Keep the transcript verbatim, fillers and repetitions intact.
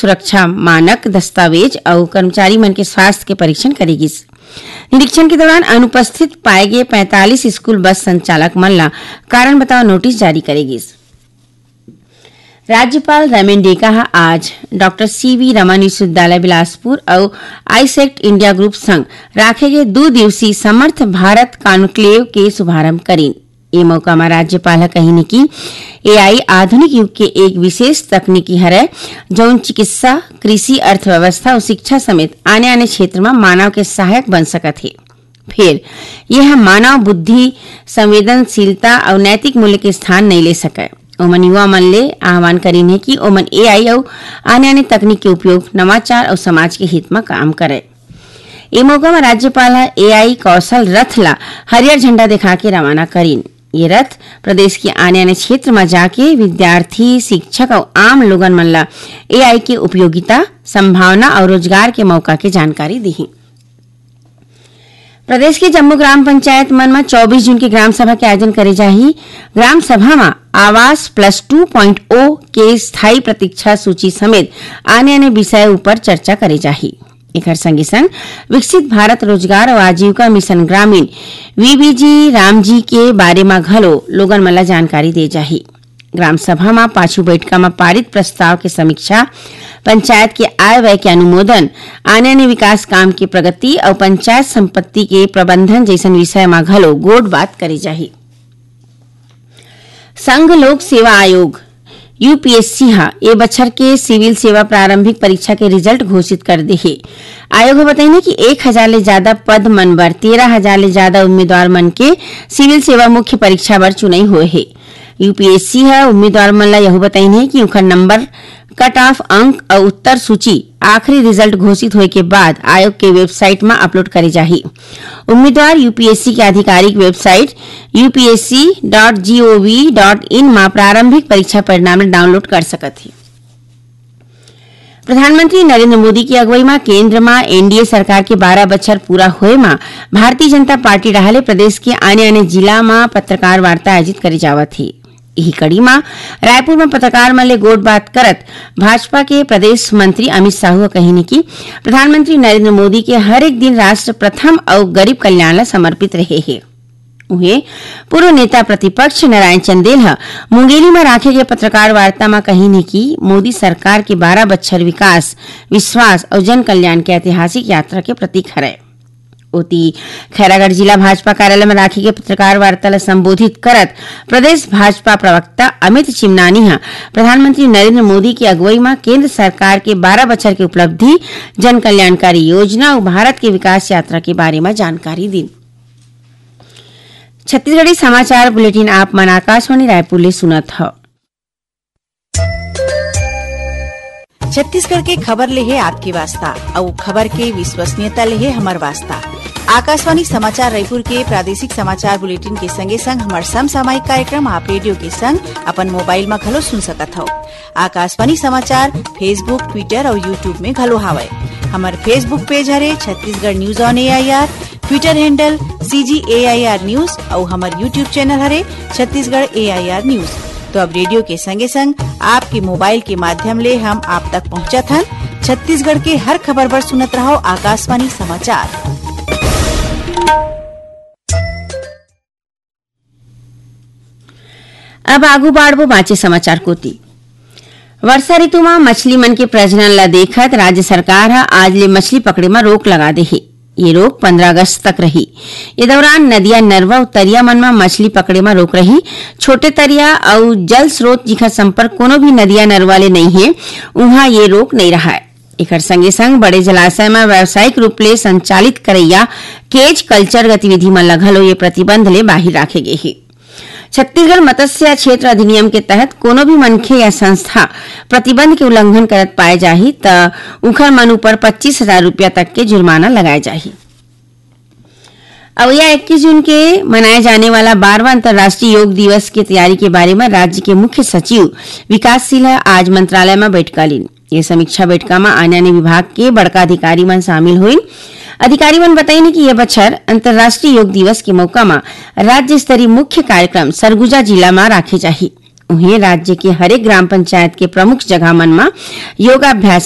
सुरक्षा मानक दस्तावेज अउ कर्मचारी मन के स्वास्थ्य के परीक्षण करे गिस। निरीक्षण के दौरान अनुपस्थित पाए गे पैंतालीस स्कूल बस संचालक मन ला कारण बताओ नोटिस जारी करे गिस। राज्यपाल रमेन डेका ह आज डॉक्टर सीवी रमन विश्वविद्यालय बिलासपुर अउ आईसेक्ट इंडिया ग्रुप संग राखे गे दू दिवसीय समर्थ भारत कॉन्क्लेव के शुभारंभ करिन। ए मौका म राज्यपाल ह कहिन कि एआई आधुनिक युग के एक विशेष तकनीकी हरय, जउन चिकित्सा, कृषि, अर्थव्यवस्था अउ शिक्षा समेत आने-आने क्षेत्र म मानव के सहायक बन सकत हे। फेर, ये ह मानव बुद्धि, संवेदनशीलता अउ नैतिक मूल्य के स्थान नइ ले सकय। ओमन युवा मन ले आह्वान करिन हे कि ओमन एआई अउ आने-आने तकनीक के उपयोग नवाचार अउ समाज के हित म काम करय। ए मौका म राज्यपाल ह एआई कौशल रथ ला हरियर झंडा दिखा के रवाना करिन। ये रथ प्रदेश के आने-आने क्षेत्र म जाके विद्यार्थी, शिक्षक अउ आम लोगन मन ला एआई के उपयोगिता, संभावना अउ रोजगार के मौका के जानकारी दिही। प्रदेश के जम्मो ग्राम पंचायत मन म चौबीस जून के ग्राम सभा के आयोजन करे जाही। ग्राम सभा म आवास प्लस टू पॉइंट ओ के स्थायी प्रतीक्षा सूची समेत आने-आने विषय ऊपर चर्चा करे जाही। एकर संगे संग विकसित भारत रोजगार अउ आजीविका मिशन ग्रामीण, वीबीजी रामजी के बारे म घलो लोगन मन ल जानकारी दे जाही। ग्राम सभा म पाछू बैठका म पारित प्रस्ताव के समीक्षा, पंचायत के आय व्यय के अनुमोदन, आने-आने विकास काम के प्रगति अउ पंचायत संपत्ति के प्रबंधन जइसन विषय म घलो गोठ बात करे जाही। संघ लोक सेवा आयोग, यूपीएससी, ह ए बछर के सिविल सेवा प्रारंभिक परीक्षा के रिजल्ट घोषित कर दे हे। आयोग ह बतइने कि एक हजार ले जादा पद मन बर तेरह हजार ले जादा उम्मीदवार मन के सिविल सेवा मुख्य परीक्षा बर चुनई होए हे। यूपीएससी ह उम्मीदवार मन ल यहू बतइने कि उखर नंबर, कट ऑफ अंक अउ उत्तर सूची आखिरी रिजल्ट घोषित होए के बाद आयोग के वेबसाइट म अपलोड करे जाही। उम्मीदवार यूपीएससी के आधिकारिक website UPSC dot GOV dot in म प्रारंभिक परीक्षा परिणाम ल डाउनलोड कर सकत हे। प्रधानमंत्री नरेंद्र मोदी की अगुवाई म केंद्र म एनडीए सरकार के बारह बछर पूरा होए म भारतीय जनता पार्टी डहार ले प्रदेश के आने-आने जिला म पत्रकार वार्ता आयोजित करे जावत हे। इही कड़ी म रायपुर म पत्रकार मन ले गोठ बात करत भाजपा के प्रदेश मंत्री अमित साहू ह कहिन कि प्रधानमंत्री नरेंद्र मोदी के हर एक दिन राष्ट्र प्रथम अउ गरीब कल्याण ल समर्पित रहे हे। उहें, पूर्व नेता प्रतिपक्ष नारायण चंदेल ह मुंगेली म राखे गए पत्रकार वार्ता म कहिन कि मोदी सरकार के बारह बछर विकास, विश्वास अउ जन कल्याण के ऐतिहासिक यात्रा के प्रतीक हरय। ओती, खैरागढ़ जिला भाजपा कार्यालय म राखे गए पत्रकार वार्ता ल संबोधित करत प्रदेश भाजपा प्रवक्ता अमित चिमनानी ह प्रधानमंत्री नरेंद्र मोदी के अगुवई म केंद्र सरकार के बारह बछर के उपलब्धि, जन कल्याणकारी योजना अउ भारत के विकास यात्रा के बारे म जानकारी दीन। छत्तीसगढ़ी समाचार बुलेटिन आप मन आकाशवाणी रायपुर ले सुनत हव। छत्तीसगढ़ के खबर ले हे आपके वास्ता, अउ खबर के विश्वसनीयता ले हे हमर वास्ता। आकाशवाणी समाचार रायपुर के प्रादेशिक समाचार बुलेटिन के संगे संग हमर समसामयिक कार्यक्रम आप रेडियो के संग अपन मोबाइल म घलो सुन सकत हव। आकाशवाणी समाचार Facebook, Twitter अउ YouTube में घलो हावय। हमर Facebook पेज हरे Chhattisgarh news on AIR, Twitter handle CG AIR news अउ हमर YouTube चैनल हरे छत्तीसगढ़ एआईआर न्यूज। तो अब रेडियो के संगे संग आपके मोबाइल के माध्यम ले हम आप तक पहुंचत हन। छत्तीसगढ़ के हर खबर बर सुनत रहव आकाशवाणी समाचार। अब आगू बाढ़बो बांचे समाचार कोति। वर्षा ऋतु म मछली मन के प्रजनन ल देखत राज्य सरकार ह आज ले मछली पकड़े म रोक लगा दे हे। ये रोक पंद्रह अगस्त तक रही। ये दौरान नदिया, नरवा अउ तरिया मन म मछली पकड़े म रोक रही। छोटे तरिया अउ जल स्रोत जिखर संपर्क कोनो भी नदिया, नरवा ले नइ हे, उहां ये रोक नइ रहय। एखर संगे संग बड़े जलाशय म व्यावसायिक रूप ले संचालित करइया केज कल्चर गतिविधि मन ल घलो ये प्रतिबंध ले बाहिर राखे गे हे। छत्तीसगढ़ मत्स्य क्षेत्र अधिनियम के तहत कोनो भी मनखे या संस्था प्रतिबंध के उल्लंघन करत पाए जाही, त उखर मन ऊपर पच्चीस हजार रुपया तक के जुर्माना लगाए जाही। अवइया इक्कीस जून के मनाए जाने वाला बारहवाँ अंतर्राष्ट्रीय योग दिवस के तैयारी के बारे म राज्य के मुख्य सचिव विकासशील ह आज मंत्रालय म बैठका लीन। ये समीक्षा बैठका म आने-आने विभाग के बड़का अधिकारी मन शामिल होइन। अधिकारी मन बताइन कि ये बछर अंतर्राष्ट्रीय योग दिवस के मौका म राज्य स्तरीय मुख्य कार्यक्रम सरगुजा जिला म राखे जाही। उहें, राज्य के हरेक ग्राम पंचायत के प्रमुख जगह मन म योगाभ्यास